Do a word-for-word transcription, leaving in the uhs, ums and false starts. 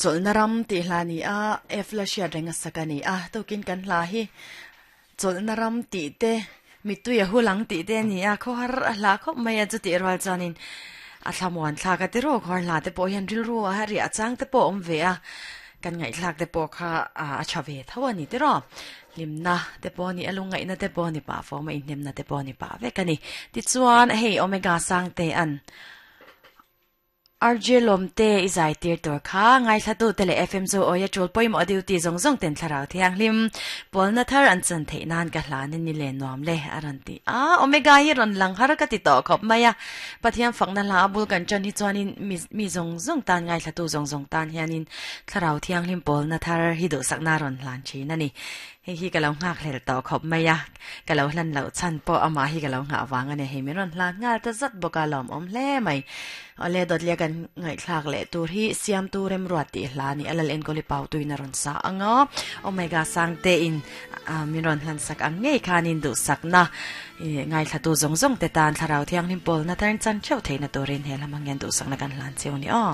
Chawlhna ram tih hla ni a F la hriat reng a sak a ni a tukin kan hla hi chawlhna ram tih te mitui a hulang tih te a ni a khawhar a hla khawp mai a chutih rual chuanin a thlamuan thlak a ti rawk har hla te pawh hian rilru a riah chang te pawh a awm ve a kan ngaihthlak te pawh kha a tha ve tho a ni tiraw hlimna te pawh a ni a lungngaihna te pawh a ni pah fawm a inhnemna te pawh a ni pah vek a ni tichuan hei omega sang te an R J Lawmte i zai tir tur kha ngaithlatu te leh F M chu awia tul pawimawh duty zawng zawng ten thlarau thianghlim pawlna thar an chan theih nan ka hlan in ni le nuam le a rawn ti a omega hi rawn lang har ka ti tawh khawp mai a Pathian fakna hla a bul kan tan hi chuanin mi mi zawng zawng tan ngaithlatu zawng zawng tan hianin thlarau thianghlim pawlna thar hi duhsakna rawn hlan thin a ni hei hi ka lo nghak hlel tawh khawp mai a ka lo hlan loh chhan pawh amah hi ka lo nghah vang a ni hei min rawn hlan nghal ta zat bawk a lawm awm hle mai awle dawtlia kan ngaihthlak leh tur hi siamtu remruat tih hla a ni a lal enkawli pau tuin a rawn sa ang a omega sang te in min rawn hlan sak ang ngei khanin duhsakna ngaithlatu zawng zawng te tan thlarau thianghlim pawlna tarn chan theuh theihna turin he lamah hian duhsakna kan hlan cheu a ni aw.